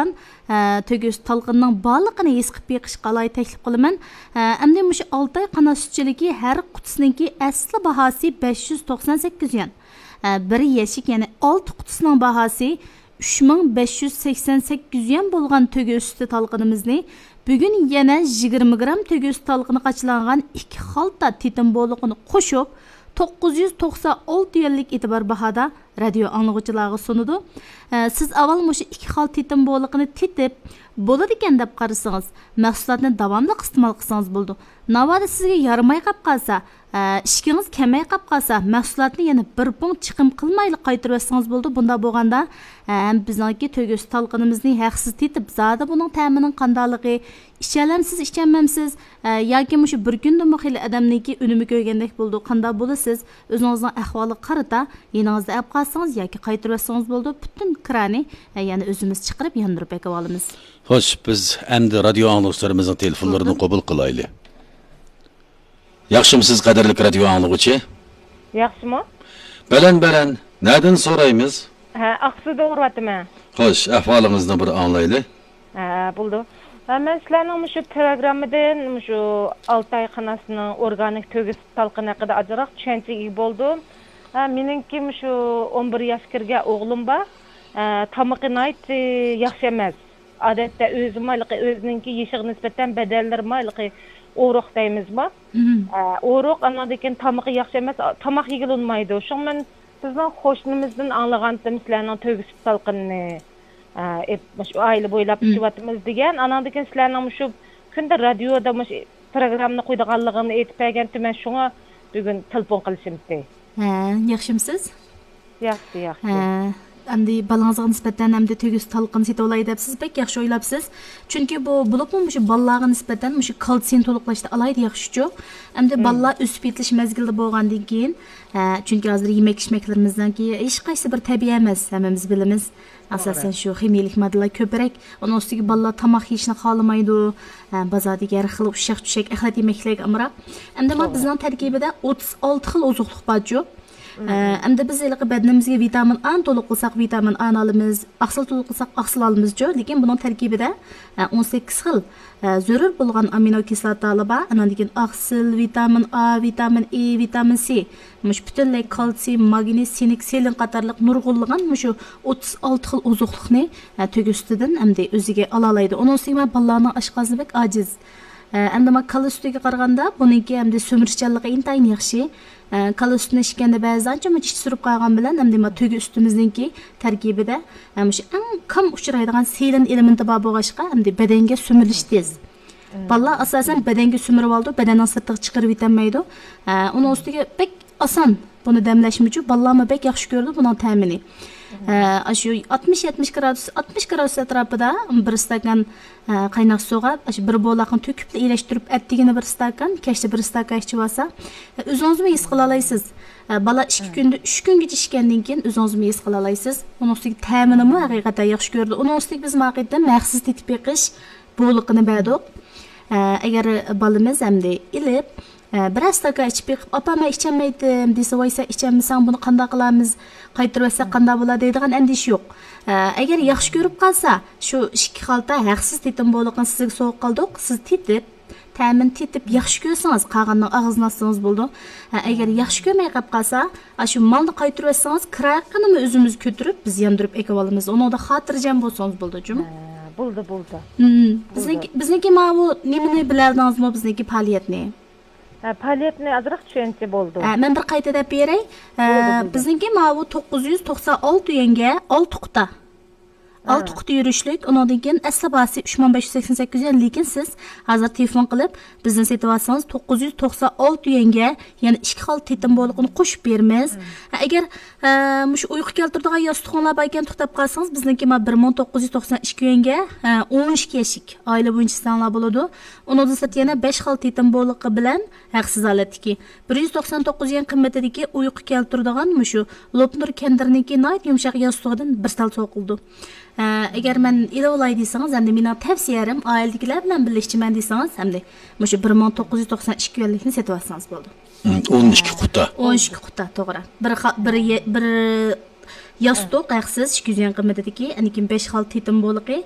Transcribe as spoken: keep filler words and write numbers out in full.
ئە، تۆگە سۈت تالقىنىنىڭ بارلىقىنى ھېس قىلىپ بېقىشقا ئالاھىدە تەكلىپ قىلىمەن. ئە، ئەمدى مۇشۇ ئالتاي قانات سۈتچىلىكى ھەر قۇتىسىنىڭكى ئەسلى باھاسى بەش يۈز توقسان سەككىز يۈەن. ئە، بىر يەشىك، يەنى ئالتە قۇتىسىنىڭ باھاسى ئۈچ مىڭ بەش يۈز سەكسەن سەككىز يۈەن بولغان تۆگە سۈتى تالقىنىمىزنى بۈگۈن يەنە يىگىرمە گرام تۆگە سۈتى تالقىنى قاچىلانغان ئىككى خالتا تېتىم بولىقىنى قوشۇپ، توققۇز يۈز توقسان ئالتە يۈەنلىك ئېتىبار باھادا رادىيو ئاڭلىغۇچىلارغا سۇنىدۇ. ئە، سىز ئاۋۋال مۇشۇ ئىككى خالتا تېتىم بولىقىنى تېتىپ، بولىدىكەن دەپ قارىسىڭىز، مەھسۇلاتنى داۋاملىق ئىستېمال قىلسىڭىز بولىدۇ. ناۋادا سىزگە يارىماي قاپ قالسا، ئە، ئىشىكىڭىز كەلمەي قاپ قالسا، مەھسۇلاتنى يەنە بىر پۇڭ چىقىم قىلمايلا قايتۇرۇۋەتسىڭىز بولىدۇ. بۇنداق بولغاندا، ئە، ھەم بىزنىڭكى تۆگە سۈتى تالقىنىمىزنى ھەقسىز تېتىپ، زادى بۇنىڭ تەمىنىڭ قانداقلىقى، ئىچەلەمسىز، ئىچەلمەمسىز، ئە، ياكى مۇشۇ بىر كۈندىمۇ خېلى ئادەمنىڭكى ئۈنۈمى كۆرگەندەك بولىدۇ. قانداق بولىسىز؟ ئۆزىڭىزنىڭ ئەھۋالىغا قارىتا، يېنىڭىزدا ئەپ قالسىڭىز ياكى قايتۇرۇۋەتسىڭىز بولىدۇ. پۈتۈن كىرانى، ئە، يەنە ئۆزىمىز چىقىرىپ ياندۇرۇپ بېقىۋالىمىز. خوش، بىز ئەمدى رادىيو ئاڭلىغۇچىلىرىمىزنىڭ تېلېفونلىرىنى قوبۇل قىلايلى. ياخشىمۇسىز، قەدىرلىك رادىيو ئاڭلىغۇچى؟ ياخشىمۇ؟ بەلەن، بەلەن. نەدىن سورايمىز؟ ھە، ئاقسۇدا ئۇرۇۋاتىمەن. خوش، ئەھۋالىڭىزنى بىر ئاڭلايلى. ھە، بولىدۇ. ھە، مەن سىلەرنىڭ مۇشۇ پروگراممىدىن مۇشۇ ئالتاي قاناسىنىڭ ئورگانىك تۆگە سۈت تالقىنى ھەققىدە ئازراق چۈشەنچىگە ئىگە بولدۇم. ھە، مېنىڭكى مۇشۇ ئون بىر ياشقا كىرگەن ئوغلۇم بار. ھە، تامىقى ناھايىتى ياخشى ئەمەس. ئادەتتە ئۆزىمۇ ھېلىقى ئۆزىنىڭكى يېشىغا نىسبەتەن بەدەنلىرىمۇ ھېلىقى ئورۇق دەيمىزمۇ؟ مم. ئە، ئورۇق، ئاندىن كېيىن تامىقى ياخشى ئەمەس، تاماق يېگىلى ئۇنىمايدۇ. شۇڭا مەن سىزنىڭ قوشنىمىزدىن ئاڭلىغانتىم سىلەرنىڭ تۆگە سۈت تالقىنىنى، ئە، ئېپ-، مۇشۇ ئائىلە بويلاپ مم. ئىچىۋاتىمىز دېگەن. ئاناندىن كېيىن سىلەرنىڭ مۇشۇ كۈندە رادىيودا مۇشۇ پروگراممىنى قويىدىغانلىقىنى ئېيتىپ بەرگەنتى، مەن شۇڭا بۈگۈن تېلېفون قىلىشىمتى. ھە، ياخشىمۇسىز؟ ياخشى، ياخشى. ھە، ئەمدى بالىڭىزغا نىسبەتەن ئەمدى تۆگە سۈت تالقىنى سېتىۋالاي دەپسىز، بەك ياخشى ئويلاپسىز. چۈنكى بۇ، بولۇپمۇ مۇشۇ بالىلارغا نىسبەتەن مۇشۇ كالتسىينى تولۇقلاشتا ئالاھىدە ياخشىچۇ. ئەمدى مم. بالىلار ئۆسۈپ يېتىلىش مەزگىلىدە بولغاندىن كېيىن، ھە، چۈنكى ھازىر يېمەك ئىچمەكلىرىمىزنىڭكى ھېچقايسى بىر تەبىئىي ئەمەس، ھەممىمىز بىلىمىز. توغرا. ئاساسەن شۇ خىمىيەلىك ماددىلار كۆپرەك. ئۇنىڭ ئۈستىگە بالىلار تاماق يېيىشنى خالىمايدۇ. ھە، بازاردىكى ھەر خىل ئۇششاق-چۈششەك ئەخلەت يېمەكلىكلەرگە ئامراق. ئەمدى مانا توغرا. بىزنىڭ تەركىبىدە ئوتتۇز ئالتە خىل ئوزۇقلۇق بارچۇ. ئە، ئەمدى بىز ھېلىقى بەدىنىمىزگە ۋىتامىن ئانى تولۇق قىلساق، ۋىتامىن ئانى ئالىمىز، ئاقسىل تولۇق قىلساق، ئاقسىل ئالىمىزچۇ. لېكىن بۇنىڭ تەركىبىدە، ئە، ئون سەككىز خىل، ئە، زۆرۈر بولغان ئامىنو كىسلاتالار بار. ئاندىن كېيىن ئاقسىل، ۋىتامىن ئا، ۋىتامىن ئې، ۋىتامىن سى، مۇشۇ پۈتۈنلەي كالتسىي، ماگنىي، سىنك، سېلېن قاتارلىق نۇرغۇنلىغان مۇشۇ ئوتتۇز ئالتە خىل ئوزۇقلۇقنى، ئە، تۆگە سۈتىدىن ئەمدى ئۆزىگە ئالالايدۇ. ئۇنىڭ ئۈستىگە مانا بالىلارنىڭ ئاشقازىنى بەك ئاجىز. ئە، ئەمدى مانا كالا سۈتىگە قارىغاندا بۇنىڭكى ئەمدى سۈمۈرۈشچانلىقى ئىنتايىن ياخشى. ئە، كالا سۈتىنى ئىچكەندە بەزىدە ئانچە-مۇنچە چىش سۈرۈپ قالغان بىلەن، ئەمدى مانا تۆگە سۈتىمىزنىڭكى تەركىبىدە، ئە، مۇشۇ ئەڭ كام ئۇچرايدىغان سېلېن ئېلېمېنتى بار بولغاچقا، ئەمدى بەدەنگە سۈمۈرۈلۈشى تېز. بالىلار ئاساسەن بەدەنگە سۈمۈرۈۋالىدۇ، بەدەننىڭ سىرتىغا چىقىرىۋېتەلمەيدۇ. ئە، ئۇنىڭ ئۈستىگە بەك ئاسان بۇنى دەملەشمىچۇ، بالىلارمۇ بەك ياخشى كۆرىدۇ بۇنىڭ تەمىنى. ئە، ئاشۇ ئاتمىش، يەتمىش گرادۇس، ئاتمىش گرادۇس ئەتراپىدا بىر ئىستاكان، ئە، قايناق سۇغا ئاشۇ بىر بولاقنى تۆكۈپلا ئىرەشتۈرۈپ ئەتىگىنى بىر ئىستاكان، كەچتە بىر ئىستاكان ئىچىۋالسا، ئە، ئۆزىڭىزمۇ ھېس قىلالايسىز. ئە، بالا ئىككى كۈندە، ئۈچ كۈنگىچە ئىچكەندىن كېيىن ئۆزىڭىزمۇ ھېس قىلالايسىز. ئۇنىڭ ئۈستىگە تەمىنىمۇ ھەقىقەتەن ياخشى كۆرىدۇ. ئۇنىڭ ئۈستىگە بىز ماقىدە مەخسۇس تېتىپ بېقىش بولىقىنى بەردۇق. ئە، ئەگەر بالىمىز ئەمدى ئېلىپ، ئە، بىرەر ئىستاكان ئىچىپ بېقىپ، «ئاپا، مەن ئىچەلمەيتتىم» دېسە، «ۋاي، سەن ئىچەلمىسەڭ، بۇنى قانداق قىلارمىز؟ قايتۇرۇۋەتسەك قانداق بولار؟» دەيدىغان ئەندىشە يوق. ئە، ئەگەر ياخشى كۆرۈپ قالسا، شۇ ئىككى خالتا ھەقسىز تېتىم بولىقىنى سىزگە سوۋغا قىلدۇق، سىز تېتىپ، تەمىنى تېتىپ ياخشى كۆرسىڭىز، قالغىنىنى ئاغزىنى ئاچسىڭىز بولىدۇ. ئە، ئەگەر ياخشى كۆرمەي قاپ قالسا، ئاشۇ مالنى قايتۇرۇۋەتسىڭىز، كىرايىقىنىمۇ ئۆزىمىز كۆتۈرۈپ، بىز ياندۇرۇپ ئېكىۋالىمىز. ئۇنىڭدا خاتىرجەم بولسىڭىز بولىدۇ، جۇمۇ. ھە، بولدى، بولدى. مم. بولدى. بىزنىڭكى، بىزنىڭكى ماۋۇ نېمىنى بىلەلىدىڭىزمۇ، بىزنىڭكى پائالىيەتنى؟ ھە، پائالىيەتنى ئازراق چۈشەنچە بولدى. ھە، مەن بىر قايتا دەپ بېرەي. ھە، بولدى، بولدى. بىزنىڭكى ماۋۇ توققۇز يۈز توقسان ئالتە يۈەنگە ئالتە قۇتا. ھە. ئالتە قۇتا يۈرۈشلۈك، ئۇنىڭدىن كېيىن ئەسلى باھاسى ئۈچ مىڭ بەش يۈز سەكسەن سەككىز يۈەن، لېكىن سىز ھازىر تېلېفون قىلىپ، بىزنى سېتىۋالسىڭىز، توققۇز يۈز توقسان ئالتە يۈەنگە يەنە ئىككى خالتا تېتىم بولىقىنى قوشۇپ بېرىمىز. ھە، ئەگەر، ئە، مۇشۇ ئۇيقۇ كەلتۈرىدىغان ياستۇقۇڭلار باركەن، توختاپ قالسىڭىز، بىزنىڭكى مانا بىر مىڭ توققۇز يۈز توقسان ئىككى يۈەنگە، ئە، ئون ئىككى يەشىك ئائىلە بويىچە ئىستەڭلار بولىدۇ. ئۇنىڭدىن سىرت يەنە بەش خالتا تېتىم بولىقى بىلەن ھەقسىز ھالەتتىكى بىر يۈز توقسان توققۇز يۈەن قىممىتىدىكى ئۇيقۇ كەلتۈرىدىغان مۇشۇ لوپنۇر كەندىرنىڭكى ناھايىتى يۇمشاق ياستۇقىدىن بىر تال سوۋغا قىلىدۇ. ئە، ئەگەر مەن ئېلىۋالاي دېسىڭىز، ئەمدى مېنىڭ تەۋسىيەم، ئائىلىدىكىلەر بىلەن بىللە ئىچىمەن دېسىڭىز، ئەمدى مۇشۇ بىر مىڭ توققۇز يۈز توقسان ئىككى يۈەنلىكنى سېتىۋالسىڭىز بولىدۇ. ھىم، ئون ئىككى قۇتا. ئون ئىككى قۇتا، توغرا. بىر خا-، بىر يە-، بىر ياستۇق ھەقسىز ئىككى يۈز يۈەن قىممىتىدىكى، ئاندىن كېيىن بەش خالتا تېتىم بولىقى،